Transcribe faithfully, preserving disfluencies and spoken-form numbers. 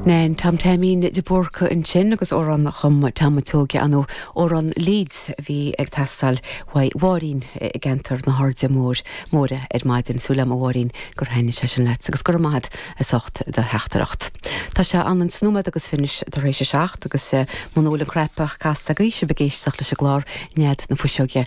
Nen Tom Taimín de Búrca ansin agus amhrán a chum Tom Tóge anú amhrán Leeds bhí ag teastáil uaidh Mháirín i gceantar na hAirde Mór Móire ar maidin súil agam a Mháirín gur thaitin sé sin leat agus gur maith as ucht do theachtaireacht. Tá sé an an snúmad agus finish tar éis a seacht agus muna bhfuil an craipeach casta agaibh sibh ag éisteacht leis an gclár Nead na Fuiseoige.